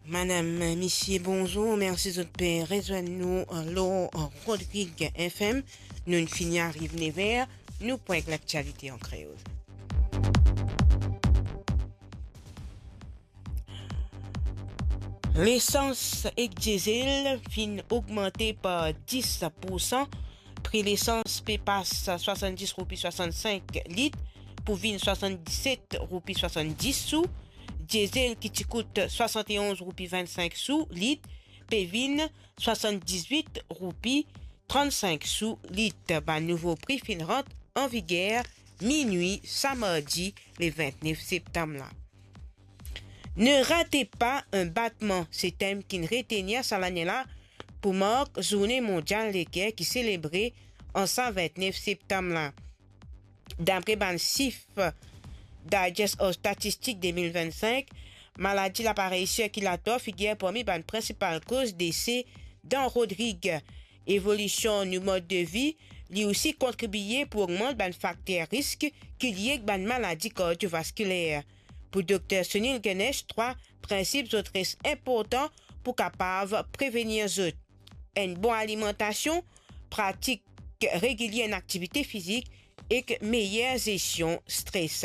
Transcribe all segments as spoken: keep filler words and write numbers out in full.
Madam, misie, bonzour. Mersi zot pe rezwenn nou, euh, lor, euh, Rodrig F M. Nou'nn fini ariv nev er, nou pou ek laktialite an kreol. Lesans ek diesel finn ogmante par dis poursan. Pri lesans pe pas swasanndis roupi swasannsink lit pou vinn swasanndisset roupi swasanndis sou. Diesel ki ti kout swasann-e-onz roupi vinn-sink sou lit pe vinn swasann-dizwit roupi trann-sink sou lit. Bann nouvo pri finn rant an viger minwi sa mardi le vintnef septam la. Ne ratez pas un battement, se tem ki'nn retenir sa lane la pou mark Zourne Mondial Leker ki selebre an sa vintnef septam la. Dapre bann sif Digest of Statistics de mil vinn-sink, maladi laparey sirkilater figir parmi bann prinsipal koz dese dan Rodrig. Evolision nou mod de vi, li osi kontribie pou ogmant bann fakter risk ki lie ek bann maladi kardiovaskiler. Pou Dokter Sunil Ganesh, trwa prinsip zot res inportan pou kapav prevenir zot. Enn bon alimantasion, pratik regilie enn aktivite fizik ek meyer zestion stres.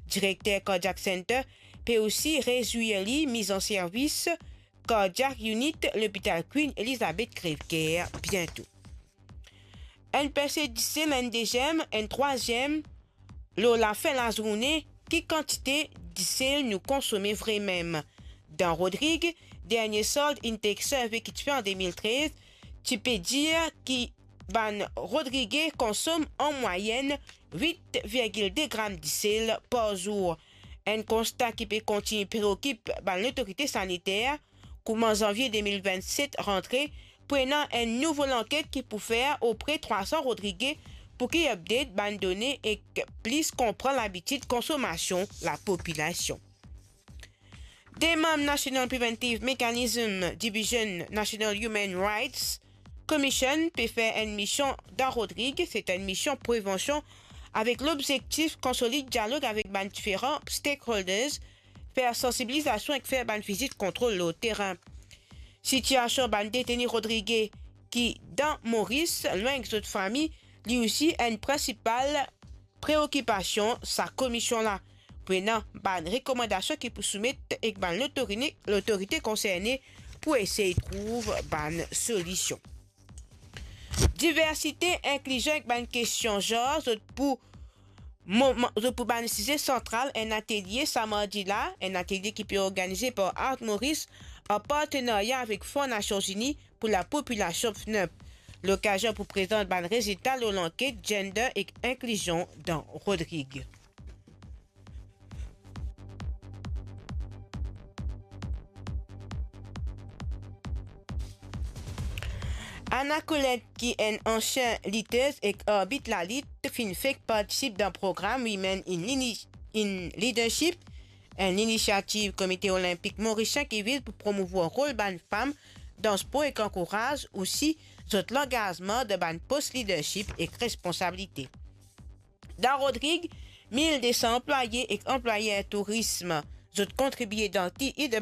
Direkter Cardiac Center pe osi rezwir li miz an servis Cardiac Unit Lopital Queen Elizabeth Crèvecoeur biento. Enn perse disel, enn deziem, enn trwaziem, lor lafin lazourne, ki kantite disel nou konsome vremem? Dan Rodrig, dernie sold Intake Survey ki ti fer an de mil trez, ti pe dir ki bann Rodrige konsom an mwayenn wit virgil de gram disel par zour. Enn konsta ki pe kontign preokip bann lotorite saniter, kouma zanvie de mil vinn-set rantre, pou ena enn nouvo lanket ki pou fer opre trwa san Rodrige pou ki update bann done ek plis konpran labitid konsomasion lapopilasion. De manm National Preventive Mechanism Division National Human Rights Commission pe fer enn mision dan Rodrig, se enn mision prevansion avek lobzektif konsolid dialog avek bann diferan stakeholders, fer sansibilizasion ek fer bann vizit kontrol lor terin. Sitiasion bann deteni Rodrige ki dan Moris, lwin ek zot fami, li osi enn prinsipal preokipasion sa komision la. Pou ena bann rekomandasion ki pou soumet ek bann lotorini-, lotorite konserne pou esey trouv bann solision. Diversite, inklizion ek bann kestion zanr, zot pou moman, zot pou bann size santral enn atelie sa mardi la, enn atelie ki pe organize par Art Maurice an partenarya avek Fon Nasion Zini pou lapopilasion, F N U P. Lokazion pou prezant bann rezilta lor lanket Gender ek Inklizion dan Rodrig. Anna Colette, ki enn ansien litez ek arbit lalit, finn fek partisip dan program Women in Lini-, in Leadership, enn linisiativ Komite Olinpik Morisien ki viz pou promouvoir rol bann fam dan spor ek ankouraz osi zot langazman dan bann pos leadership ek responsabilite. Dan Rodrig, mil de san anplwaye ek anplwayer tourism, zot kontribie dan ki